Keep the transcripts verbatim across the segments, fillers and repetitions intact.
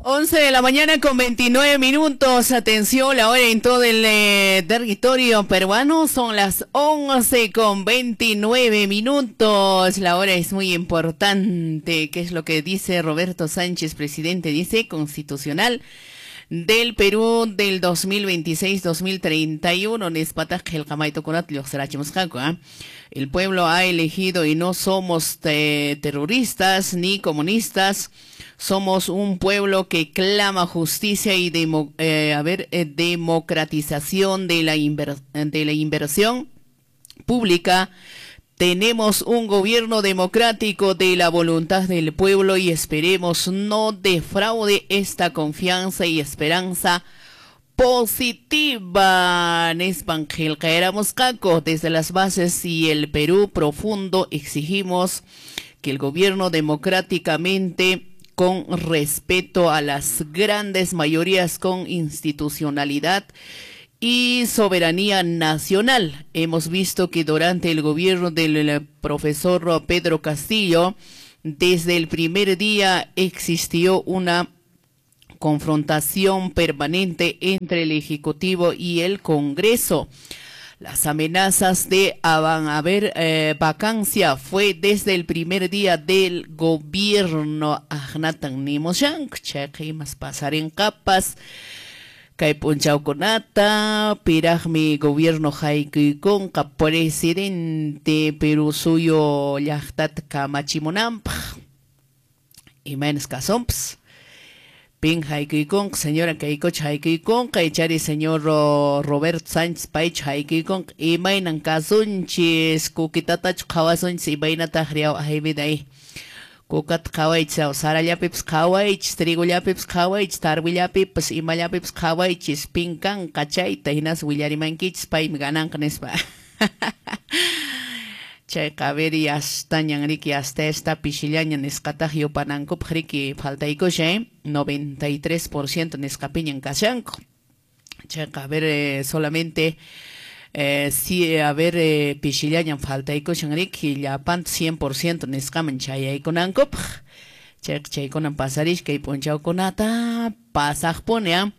once de la mañana con veintinueve minutos. Atención, la hora en todo el eh, territorio peruano son las once con veintinueve minutos. La hora es muy importante. ¿Qué es lo que dice Roberto Sánchez, presidente? Dice constitucional del Perú del dos mil veintiséis dos mil treinta y uno. El pueblo ha elegido y no somos te terroristas ni comunistas. Somos un pueblo que clama justicia y demo, eh, a ver, eh, democratización de la, inver de la inversión pública. Tenemos un gobierno democrático de la voluntad del pueblo y esperemos no defraude esta confianza y esperanza positiva. Desde las bases y el Perú profundo exigimos que el gobierno democráticamente, con respeto a las grandes mayorías, con institucionalidad y soberanía nacional. Hemos visto que durante el gobierno del profesor Pedro Castillo, desde el primer día existió una confrontación permanente entre el Ejecutivo y el Congreso. Las amenazas de haber eh, vacancia fue desde el primer día del gobierno. Ahnatan nimoshank, chayqimas pasarin kapas. Kay p'unchawkunata piraqmi gobierno haykuykunqa presidente Perú suyo llaqtata kamachimunanpaq. Imaynas kasonpas. Pin haykuykunqa, señora Kaycocha haykuykunqa, ichari señor Roberto Sánchez paychu haykuykunqa, imaynan kasunchis, kukitatachu qhawasunchis, imaynataq riaw ayviday. Kukata qhawaychis, sarallapipas qhawaychis, trigollapipas qhawaychis, tarwillapipas, imallapipas qhawaychis, pin kanqa chayta, hinas willarimankichis, paymi gananqa nispa. Chayqa a ver, yastañan riki, hasta esta pishillaña nisqataq yupanankupaq riki faltaykushan, ¿eh? noventa y tres por ciento nisqapiñan kashanku. Chayqa a ver, eh, solamente eh, si a ver, eh, pishillañan faltaykushan riki, llapanta cien por ciento nisqaman chayaykunankupaq. Chayqa chaykunan pasarish kay p'unchawkunata pasaqpuni, ¿eh?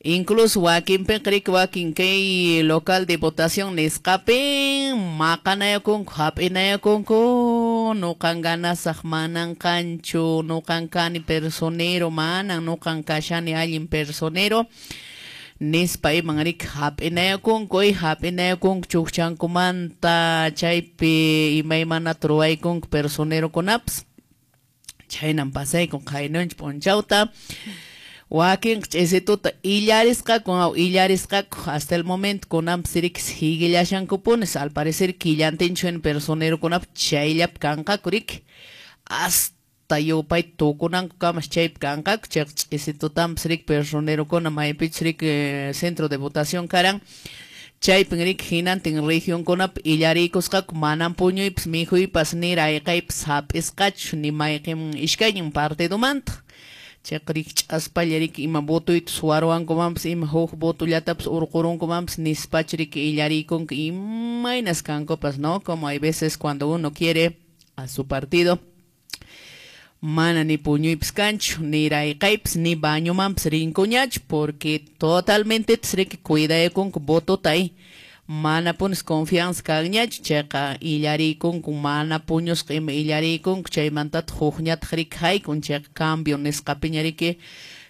Incluso wakinpiqa riki wakin kay local de votación nisqapin maqanayakunku, hap'inayakunku, nuqan ganasaq manan kanchu, nuqan kani personero, manan nuqan kashani allin personero nispa iman riki hap'inayakunku, hap'inayakunku chukchankumanta chaypi imaymanata ruwaykunku personerokunapas. Chaynan pasaykun qaynunchik p'unchawta. Wakin ch'isituta illarisqaku, illarisqaku hasta el momento kunanpas riki siguillashankupunis, al parecer killantinchu en personerokunap chayllapi kanqaku riki, hasta yupay tukunanku kamas chaypi kanqaku. Chayqa ch'isitutanpas riki personerokuna maypichus riki centro de votación karan chaypin riki hinantin regionkunapi illariykusqaku, manan puñuypas mikhuypas ni rayqaypas hap'isqachu ni mayqin iskaynin partidomanta. Chayqa riki ch'aspalla riki ima votuyta suwaruwankumanpas, ima huk votullatapas urqurunkumanpas nispachu riki illariykunku imaynas kankupas, ¿no? Como hay veces cuando uno quiere a su partido, mana ni puñuypas kanchu, ni rayqaypas, ni bañumanpas rinkuñachu, porque totalmente riki cuidaykunku votota ahí. Mana punis confianza kanñachu, chayqa illariykunku mana puñusqa ima illariykunku, chaymantataq hukñataq riki haykun, chayqa cambio nisqapiña riki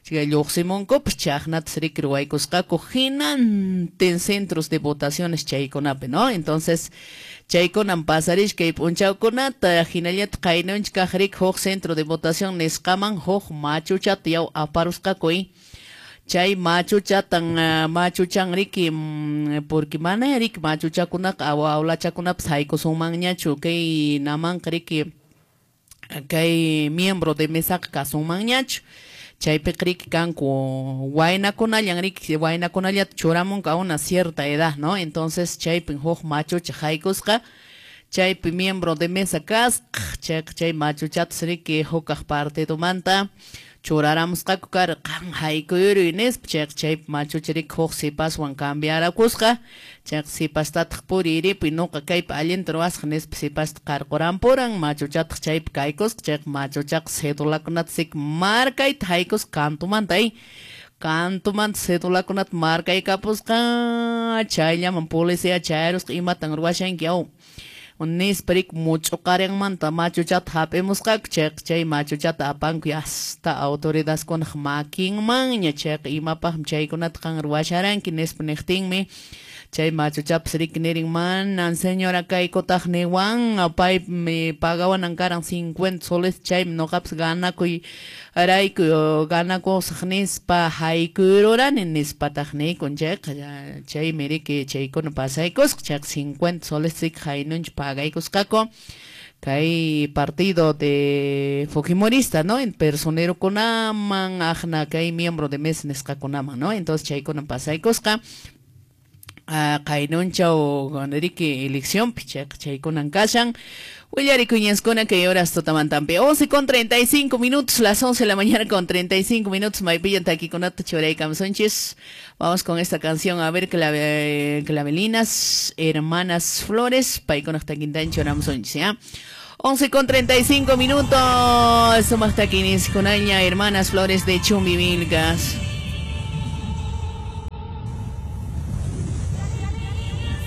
chay lluqsimunkupas, chaqnatas riki ruwaykusqaku hinantin centros de votaciones chaykunapi, ¿no? Entonces chaykunan pasarish kay p'unchawkunata, hinallataq qaynunchik kaq riki huk centro de votación nisqaman huk machuchata yaw aparusqaku. Chay machuchatan machuchan riki, porque mana riki machuchakunaqa awlachakunapas haykusunmanñachu kay namanqa riki kay miembro de mesaqa kasunmanñachu. Chaypiqa riki kanku waynakunallan riki, waynakunallata churamunqa a una cierta edad, ¿no? Entonces chaypin huk machucha haykusqa, chaypi miembro de mesa kasqa, chayqa chay machuchatas riki hukaq partidomanta churaramusqaku karqan haykuyuruy nispa chayqa chaypi machucha riki huk sipaswan cambiarakusqa chayqa sipastataq puriripuy nuqa kaypi allinta ruwasaq nispa sipasta qarqurampuran machuchataq chaypi kaykusqa chayqa machuchaqa cedulakunata sik markayta haykusqa kantumanta ay kantumanta cedulakunata markaykapusqa chayllaman policía chayarusqa imatan ruwashanki aw nispa riki much'uqarinmanta machuchata hap'imusqaku chayqa chay machuchata apanku hasta autoridadkunaq makinmanña chayqa imapaqmi chaykunata qan ruwasharanki nispa niqtinmi chay machuchapas riki nirin manan señora kaykutaq niwan paymi pagawanan karan cincuenta soles chaymi nuqapas ganakuy rayku ganakusaq nispa haykuyurani nispataq niykun chayqa chaymi riki chaykuna pasaykusqa chayqa cincuenta soles riki haynuncha pagaykusqaku kay partido de Fujimorista, ¿no? En personero kunaman aqna kay miembro de mesa nisqakunaman, ¿no? Entonces chaykuna pasaykusqa qaynunchaw riki eleccionpi chayqa chaykunan kashan willarikuñaskuna kay horas tutamantampi once con treinta y cinco minutos, las once de la mañana con treinta y cinco minutos, maypillan takikunata churaykamsunchis. Vamos con esta canción, a ver, clave, clavelinas, hermanas Flores, paykunaq takintan churamsunchis, ¿ya? once con treinta y cinco minutos, sumaq takiniskunaña, hermanas Flores de Chumbivilcas.